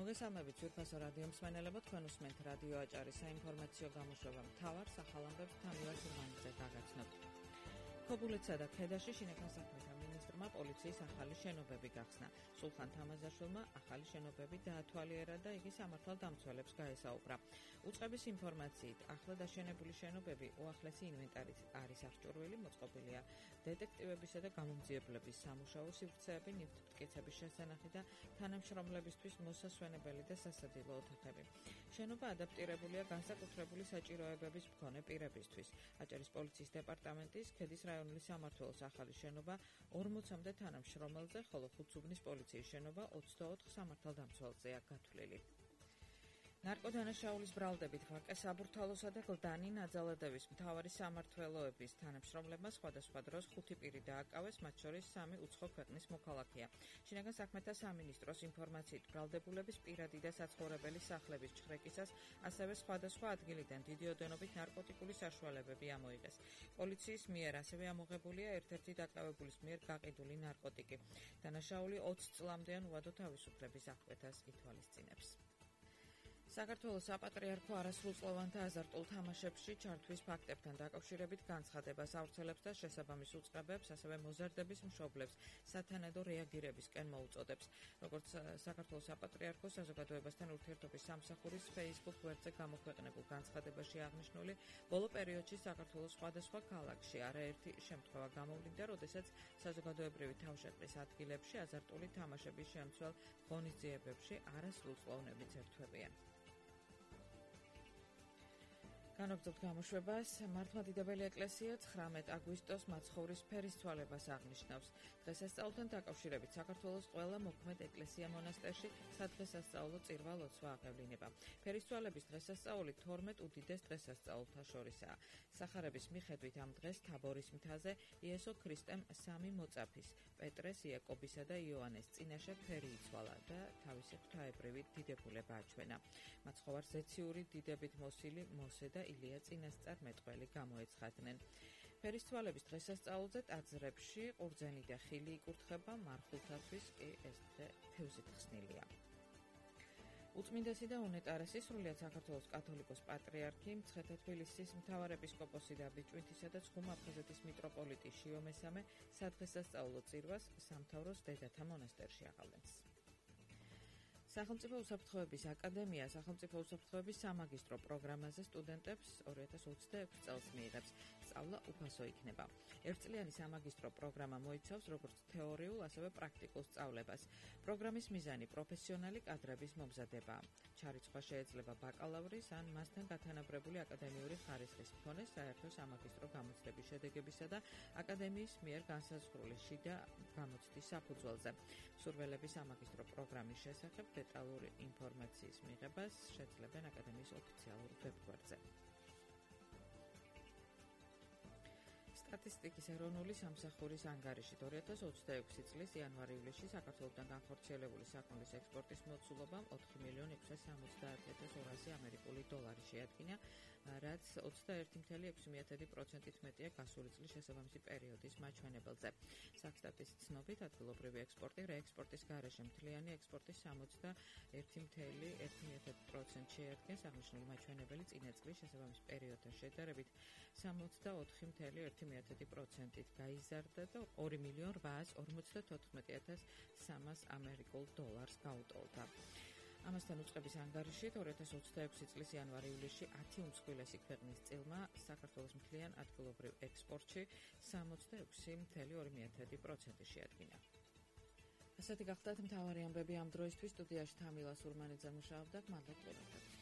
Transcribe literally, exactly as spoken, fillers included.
მოგესალმებით ძვირფასო რადიო მსმენელებო, თქვენ უსმენთ რადიო აჭარის საინფორმაციო გამოშვება მთავარ სახალხოებს თამილას ურმანიძე გაგაცნობთ. ქობულეთსა და ქედაში შინაგან საქმეთა მინისტრმა პოლიციის ახალი შენობები გახსნა. სულხან თამაზაშვილმა ახალი შენობები დაათვალიერა და იგი სამართალდამცველებს გაესაუბრა. უწყების ინფორმაციით, ახლა დაშენებული შენობები უახლესი ინვენტარით არის აღჭურვილი, მოწყობილია დეტექტივებისა და გამომძიებლების სამუშაო სივრცეები, ნივთმტკიცების შესანახი და თანამშრომლებისთვის მოსასვენებელი და სასადილო ოთახები. შენობა ადაპტირებულია განსაკუთრებული საჭიროებების მქონე პირებისთვის. აჭარის პოლიციის დეპარტამენტის ქედის რაიონული სამმართველოს ახალი შენობა ორმოცამდე თანამშრომელზე, ხოლო ხუთსუბნის პოლიციის შენობა ოცდაოთხ სამართალდამცველზეა გათვლილი. ნარკოდანაშაულის ბრალდებით ვაკე საბურთალოსა და გლდანი ნაძალადევის მთავარი სამმართველოების თანამშრომლებმა სხვადასხვა დროს ხუთი პირი დააკავეს, მათ შორის სამი უცხო ქვეყნის მოქალაქეა. შინაგან საქმეთა სამინისტროს ინფორმაციით, ბრალდებულების პირადი და საცხოვრებელი სახლების ჩხრეკისას ასევე სხვადასხვა ადგილიდან დიდი ოდენობით ნარკოტიკული საშუალებები ამოიღეს. პოლიციის მიერ ასევე ამოღებულია ერთ-ერთი დაკავებულის მიერ გაყიდული ნარკოტიკი. დანაშაული ოცი წლამდე ან უადო თავისუფლების აღკვეთას ითვალისწინებს. საქართველოს საპატრიარქო არასრულწლოვანთა აზარტულ თამაშებში ჩართვის ფაქტებთან დაკავშირებით განცხადებას ავრცელებს და შესაბამის უწყებებს, ასევე მოზარდების მშობლებს სათანადო რეაგირებისკენ მოუწოდებს. როგორც საქართველოს საპატრიარქო საზოგადოებასთან ურთიერთობის სამსახურის Facebook გვერდზე გამოქვეყნებულ განცხადებაში აღნიშნული, ბოლო პერიოდში საქართველოს სხვადასხვა ქალაქში არაერთი შემთხვევა გამოვლინდა, როდესაც საზოგადოებრივი თავშეყრის ადგილებში აზარტული თამაშების შემცველ ღონისძიებებში არასრულწლოვნები ძერთვებიან. განაგრძობთ გამოშვებას. მართლმადიდებელი ეკლესია ცხრამეტ აგვისტოს მაცხოვრის ფერისცვალებას აღნიშნავს. დღესასწაულთან დაკავშირებით საქართველოს ყველა მოქმედ ეკლესია მონასტერში სადღესასწაულო წირვა-ლოცვა აღევლინება. ფერისცვალების დღესასწაული თორმეტ უდიდეს დღესასწაულთა შორისაა. სახარების მიხედვით ამ დღეს თაბორის მთაზე იესო ქრისტემ სამი მოწაფის, პეტრეს, იაკობისა და იოანეს წინაშე ფერი იცვალა და თავისი ღვთაებრივი დიდებულება აჩვენა. მაცხოვარს ზეციური დიდებით მოსილი მოსე და ილია წინასწარ მეტყველი გამოეცხადნენ. ფერისცვალების დღესასწაულზე ტაძრებში ყურძენი და ხილი იკურთხება, მარხულთათვის კი ეს დღე თევზით ხსნილია. უწმინდესი და უნეტარესი სრულიად საქართველოს კათოლიკოს პატრიარქი, მცხეთა-თბილისის მთავარეპისკოპოსი და ბიჭვინთისა და ცხუმ-აფხაზეთის მიტროპოლიტი შიო მესამე სადღესასწაულო წირვას სამთავროს დედათა მონასტერში აღავლენს. სახელმწიფო უსაფრთხოების აკადემია სახელმწიფო უსაფრთხოების სამაგისტრო პროგრამაზე სტუდენტებს ორი ათას ოცდაექვსი წელს მიიღებს. სწავლა უფასო იქნება. ერთწლიანი სამაგისტრო პროგრამა მოიცავს როგორც თეორიულ, ასევე პრაქტიკულ სწავლებას. პროგრამის მიზანი პროფესიონალი კადრების მომზადებაა. ჩარიცხვა შეიძლება ბაკალავრის ან მასთან გათანაბრებული აკადემიური ხარისხის მქონე საერთო სამაგისტრო გამოცდების შედეგებისა და აკადემიის მიერ განსაზღვრული შიდა გამოცდის საფუძველზე. მსურველები სამაგისტრო პროგრამის შესახებ დეტალური ინფორმაციის მიღებას შეძლებენ აკადემიის ოფიციალურ ვებგვერდზე. სტატისტიკის ეროვნული სამსახურის ანგარიშით ორი ათას ოცდაექვსი წლის იანვარ-ივლისში საქართველოსთან განხორციელებული საქონლის ექსპორტის მოცულობამ ოთხი მილიონი ექვსი სამოცდაათი ათას ორასი ამერიკული დოლარი შეადგინა, რაც ოცდაერთი წუთი ექვსი პროცენტით მეტია გასული წლის შესაბამისი პერიოდის მაჩვენებელზე. საქსტატის ცნობით, ადგილობრივი ექსპორტი რეექსპორტის გარეშე მთლიანი ექსპორტის სამოცდაერთი წუთი ერთი პროცენტი შეადგენს. აღნიშნული მაჩვენებელი წინა წლის შესაბამის პერიოდთან შედარებით სამოცდაოთხი წუთი ერთი პროცენტით გაიზარდა და ორი მილიონი რვაას ორმოცდათოთხმეტი ათას სამას ამერიკულ დოლარს გაუტოლდა. ამასთან უწყების ანგარიშით ორი ათას ოცდაექვსი წლის იანვარ-ივლისში ათი უმსხვილესი ქვეყნის წილმა საქართველოს მთლიან ადგილობრივ ექსპორტში სამოცდაექვსი წუთი ორი პროცენტი შეადგინა. ასეთი გახლდათ მთავარი ამბები ამ დროისთვის. სტუდიაში თამილას ურმანიძე მუშაობდა. მადლობთ.